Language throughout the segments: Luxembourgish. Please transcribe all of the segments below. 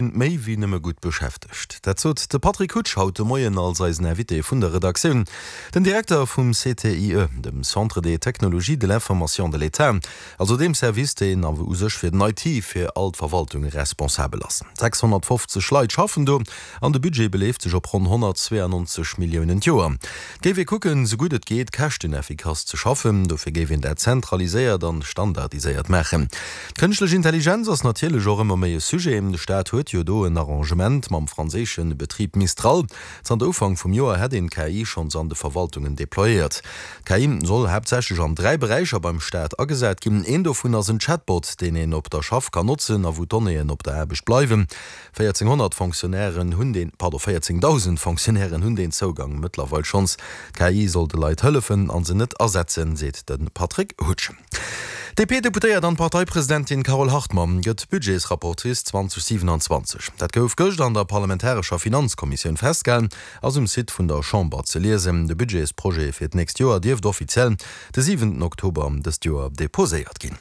Méi wéi nëmme gutt beschäftegt. Dat sot de Patrick Hutsch haut de Moien als eisen Invité vun der Redaktioun. Den Direkter vum CTIE, dem Centre des technologies de l'information de l'État, also deem Service, deen u sech fir den IT fir all d'Verwaltunge responsabel ass. 650 Leit schaffen do an de Budget beleeft sech op ronn 192 Milliounen d'Joer. Et géif ee kucken, sou gutt et geet, käschteneffikass ze schaffen. Dofir géif een dat zentraliséiert an standardiséiert maachen. D'Kënschtlech Intelligenz ass natierlech och ëmmer méi e Sujet. De Staat huet jo do en Arrangement mam franséische Betrib Mistral. Zanter Ufank vum Joer hätt een d'KI schonns an de Verwaltungen deployéiert. D'KI soll haaptsächlech an 3 Beräicher beim Staat agesat ginn. Een dovun ass en Chatbot, deen een op der Schaff kann notzen a wou d'Donnéeën op der Aarbecht bleiwen. 1400 Fonctionnairen hunn deen, pardon, 14.000 Fonctionnairen hunn deen Zougang mëttlerweil schonns. D'KI soll de Leit hëllefen a se net ersetzen, seet de Patrick Hutsch. D'DP-Deputéiert an Parteipresidentin Carole Hartmann gëtt Budgetsrapportrice 2027. Dat gouf gëscht an der parlamentarescher Finanzkommissioun festgehalen, ass um Site vun der Chamber ze liesen. De Budgetsprojet fir d'nächst Joer dierft offiziell de siwenten Oktober dëst Joer deposéiert ginn.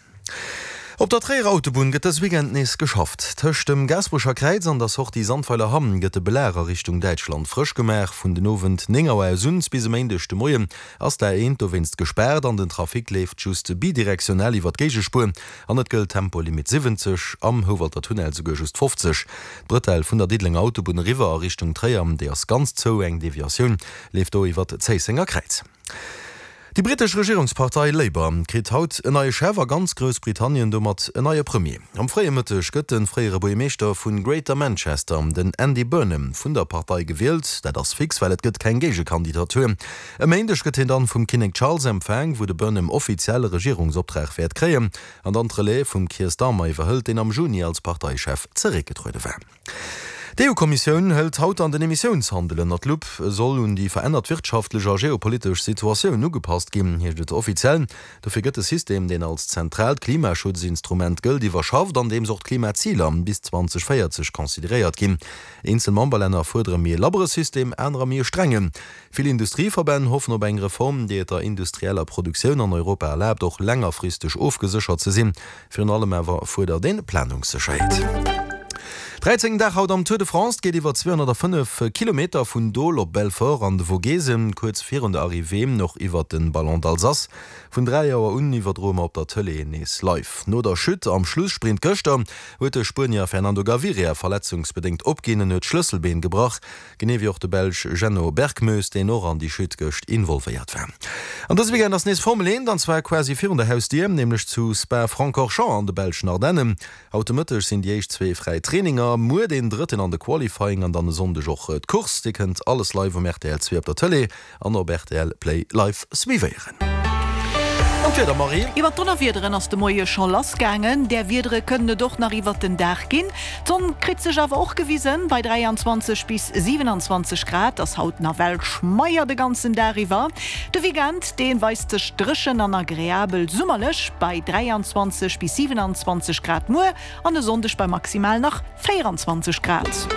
Op der Tréierer Autobunn gëtt dës Weekend nees geschafft. Tëscht dem Gaasperecher Kräiz an der Sortie Sandweiler Hamm gëtt de Belag a Richtung Däitschland frësch gemaach. Vun den Owend 9 Auer aus un bis e Méindeg de Moien ass d'A1 dowéinst gespaart an den Trafic leeft just bidirektionell iwwer d'Géigespuer an et gëllt Tempolimit 70, am Houwalter Tunnel souguer just 50. D'Bretelle vun der Diddelenger Autobunn eriwwer a Richtung Tréier, déi ass ganz zou, eng Deviatioun leeft do iwwer d'Zéissenger Kräiz. Déi brittesch Regierungspartei Labour kritt haut en neie Chef a ganz Groussbritannien domat en neie Premier. Am fréie Mëtteg gëtt de fréiere Buergermeeschter vu Greater Manchester, den Andy Burnham, vun der Partei gewielt. Dat ass fix, well et gëtt keng Géigekandidatur. E Méindeg gëtt hien dann vum Kinnek Charles empfaang, wou de Burnham offiziell e Regierungsoptrag wäert kréien an dann d'Relève vum Keir Starmer iwwerhëlt, deen am Juni als Parteichef zeréckgetruede war. D'EU-Kommissioun hëlt haut dann den Emissiounshandel ënner d'Lupp. E soll un déi verännert wirtschaftlech a geopolitesch Situatioun ugepasst ginn, heescht et offiziell. Dofir gëtt de System, deen als zentraalt Klimaschutzinstrument gëllt, iwwerschafft, andeems och d'Klimaziler bis 2040 consideréiert ginn. Eenzel Memberlänner fuerdere méi e labbere System, anerer méi e strengen. Vill Industrieverbänn hoffen op eng Reform, déi et der industrieller Produktioun an Europa erlaabt, och längerfristeg ofgeséchert ze sinn. Virun allem awer fuerdert een Planungssécherheet. Dräizéngten Dag haut am Tour de France. Et geet iwwer 205 Kilometer vun Dole op Belfort an de Vogesen, kuerz virun der Arrivée och iwwer de Ballon d'Alsace. Vun 3 Auer un iwwerdroe mer op der Tëlee nees live. No der Chute am Schlussprint gëschter huet de Spuenier Fernando Gaviria verletzungsbedéngt opginn. En huet d'Schlësselbeen gebrach. Genee wéi och de Belsch Jenno Berckmoes, deen och an déi Chute gëscht involvéiert war. An dëse Weekend ass nees Formel 1, an zwar quasi virun der Hausdier, nämlech zu Spa-Francorchamps an de belschen Ardennen. Haut de Mëtteg sinn déi éischt zwee fräi Traininger, muer deen drëtten an de Qualifying an dann e Sonndeg och d'Course. Dir kënnt alles live um rtl 2 op der Tëlee An op rtl Play live suivéieren. An d'Wieder, Marie? Iwwer d'Donnerwiederen ass de Moie scho lassgaangen. Där Wiedere kënnen et och nach iwwert den Dag ginn. D'Sonn kritt sech awer och gewisen. Bei 23 bis 27 Grad ass haut nawell schmeier de ganzen Dag iwwer. De Weekend, dee weist sech dréchen an agreabel summerlech bei 23 bis 27 Grad muer an e Sonndeg bei maximal nach 24 Grad.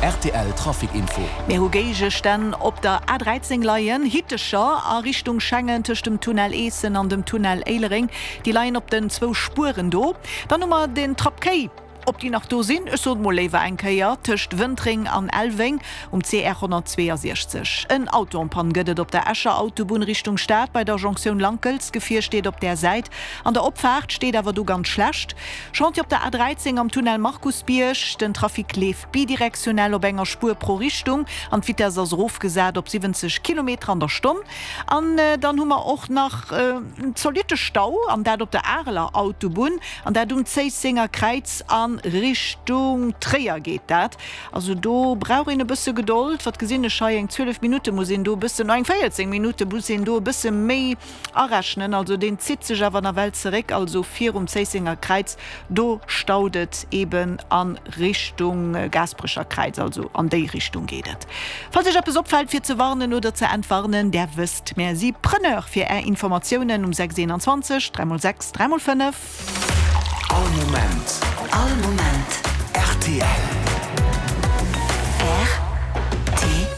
Rtl Trafic Info. Mir hu Géigestänn op der A13 leien, Hittecher a Richtung Schengen tëscht dem Tunnel Eessen an dem Tunnel Éilereng. Déi leien op den zwou Spueren do. Dann hu mer den Trapp Kéi, ob déi nach do sinn, ech sot mol léiwer eng Kéier, tëscht Wëntreng an Elweng um CR 162. En Auto en panne gëtt et op der Escher Autobunn Richtung Stad bei der Jonktioun Lankels. D'Gefier steet op där Säit. An der Opfaart steet awer do ganz schlecht. Chantier op der A13 am Tunnel Markusbierg. Den Trafic leeft bidirektionell op enger Spuer pro Richtung an d'Vitess ass erofgesat op 70 Kilometer an der Stonn. An dann hu mer och nach en zolitte Stau, an dat op der Areler Autobunn, an dat um Zéissenger Kräiz a Richtung Tréier geet dat. Also do brauch een e bësse Gedold. Wat gesinn ech hei? Eng 12 Minutte muss een do e bëssen, no eng 14 Minutte muss een do e bësse méi Arechnen, also deen zitt sech awer nawell zeréck, also virum Zéissenger Kräiz, do staut et eben a Richtung Gaasperecher Kräiz, also an déi Richtung geet et. Falls Iech eppes opfält fir ze warnen oder ze entwarnen, där wësst, mär si Preneur fir Är Informatiounen um 6 21 3 x 6 3 x 5. All Moment. All Moment. Rtl. Rtl.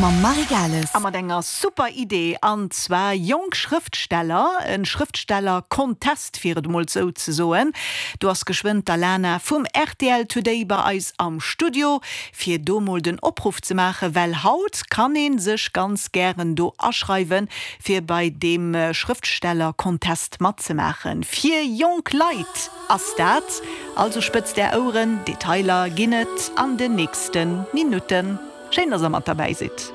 Mam Marie Gales. A mat enger super Idee, an zwar jonk Schrëftsteller, en Schrëftsteller-Contest fir et emol sou ze soen. Do ass geschwënn d'Alana vum rtl Today bei eis am Studio, fir do mol den Opruff ze maachen, well haut kann ee sech ganz gären do aschreiwen, fir bei deem Schrëftsteller-Contest matzemaachen. Fir jonk Leit ass dat, also spëtzt är Oueren, Detailer ginn et an den nächste Minutten. Schéin, dass der mat derbäi sidd.